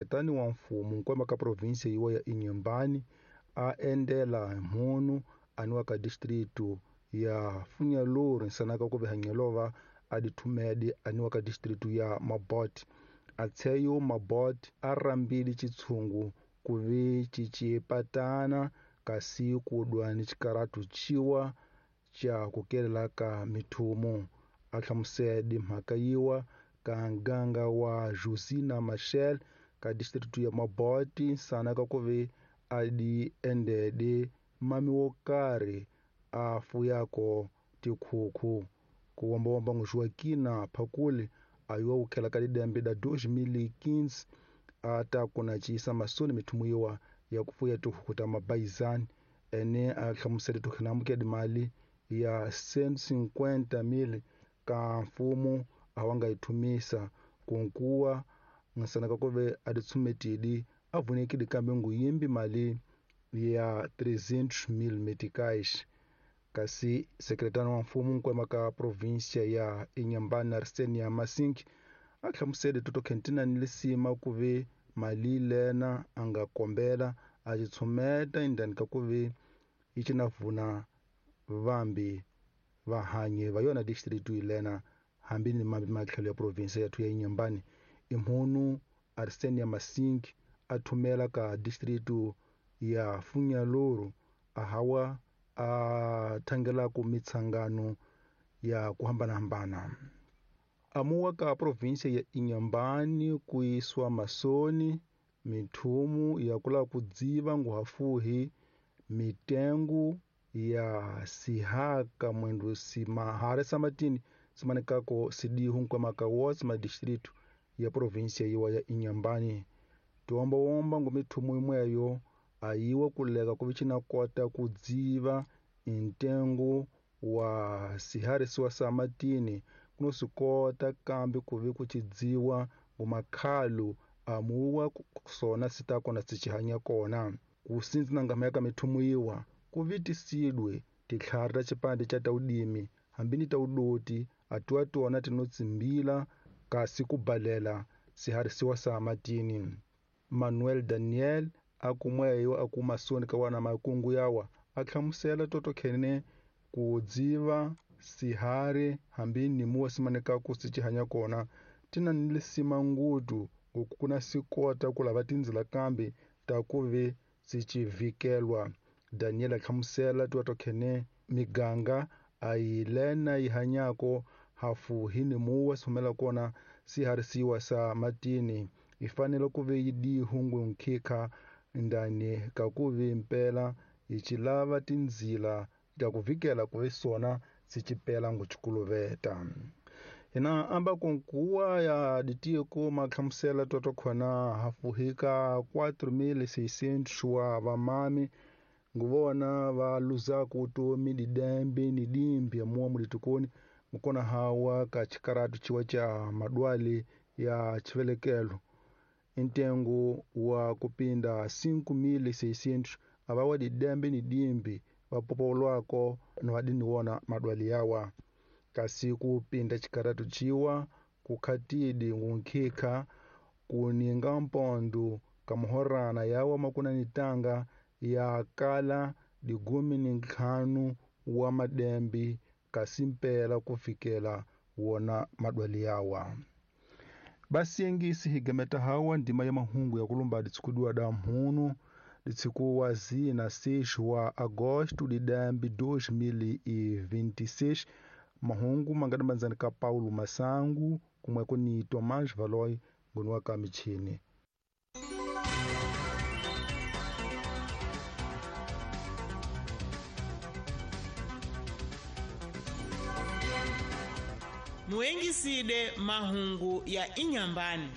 Sekretani wa mfumo nkwama ka provinsia yiwa ya Inhambane a endela mhunu aniwa ka distrito ya Funhalouro nsanaka ku vihanyelova a dithumedi aniwa ka distrito ya Mabote. Atsheyo Mabote a rambile chitshungu ku vi cicipatana kasi ku dwa ni xikaratu chiwa cha ku kelela ka mithumu. A hlamusele mhaka yiwa ka nganga wa Josina Machel ka distrito ya Mabote nsanaka ku vi a di endede mami wo karhi a fuyako tikhukhu. Ku wombawomba Joaquina Phakuli a yiwa ku khela ka didembe da 2015 a ta kuna ciyisa masoni mithumu yiwa ya ku fuya tihuku ta mabayizani ene a hlamusele tukhinamuke mali ya 150,000 ka mfumo a wa nga yi thumisa kunkuwa nsanaka ku ve a ditshumetidi a vunekile kambe nguyimbi mali ya 300,000 meticais. Kasi sekretari wa mfumo nkwema ka provinsia ya Inhambane Arsenia Masink a hlamusele toto khentina ni lisima ku ve mali lena a nga kombela a tshumeta indani ka ku ve yi cina vuna vambi vahanyi va yona district lena hambi ni mambi matlhelo ya provinsia ya ya Inhambane. Imhunu Arsenia Masink a thumela ka district ya Funhalouro a hawa a thangelaku mitsangano ya ku hambanahambana. Amuwa ka provinsia ya Inhambane ku yisiwa masoni mithumu ya kula ku dziva nguhafuhi mitengu ya sihaka mwendo simahare samatini simanekako sidihu nkwamaka wotse madistritu ya provinsia yiwa ya Inhambane. Tiwombawomba ngu mithumu imweyo ayiwa kuleka ku vicina kota ku dziva intengo wa siharisiwa samatini kuno sikota kambe ku vi ku cidziwa ngumakhalu amuwa sona sita kona sichihanya kona. Ku sinzi na ngama ya ka mithumu yiwa ku vitisidwe titlhari ta xipande cha taudimi hambi ni taudoti atiwa tona tinotsimbila kasi ku balela siharisiwa samatini. Manuel Daniel a kumweyo a kuma soni ka wana makungu yawa a hlamusela toto khene ku dziva sihari hambi ni muwa simaneka ku sichihanya kona tina ni lisima ngudu ngoku kuna sikota ku lava tindzila kambe ta ku ve sichivikelwa. Daniel a hlamusela tiwa to khene miganga a yi lena yi hanyako hafu hi ni muwa sihumela kona siharisiwa sa matini yi fanele ku ve yi dihungu nkhikha ndani ka ku ve mpela yi chilava tindzila ta ku vikela ku ve sona sichipela nguchikuluveta. Hina amba kunkuwa ya ditiko mahlamusela toto khona hafuhika 4600 wa vamami nguvona va luzaku utomi didembe ni dimbi ya muwa mulitukoni mukona hawa ka chikaratu chiwa cha madwali ya chivelekelo. Intengo wa kupinda 5600 abawa didembe ni dimbi vapopolwako na vadini wona madwali yawa. Kasi kupinda chikaratu chiwa kukhatidi ngunkhikha kuninga mpondo kamuhorana yawa makuna nitanga ya kala digumi ni ntlhanu wa madembi kasi mpela kufikela wona madwali yawa. Basiyengisi higemeta hawa ndima ya mahungu ya kulumba ditsikudiwa da mhunu ditsikuwa zina 6 wa agosto didembi 2026. Mahungu mangadambanzani ka Paulo Masangu kumweko ni Tomás Valoy ngoni wa ka michini. Muengiside mahungu ya Inhambane.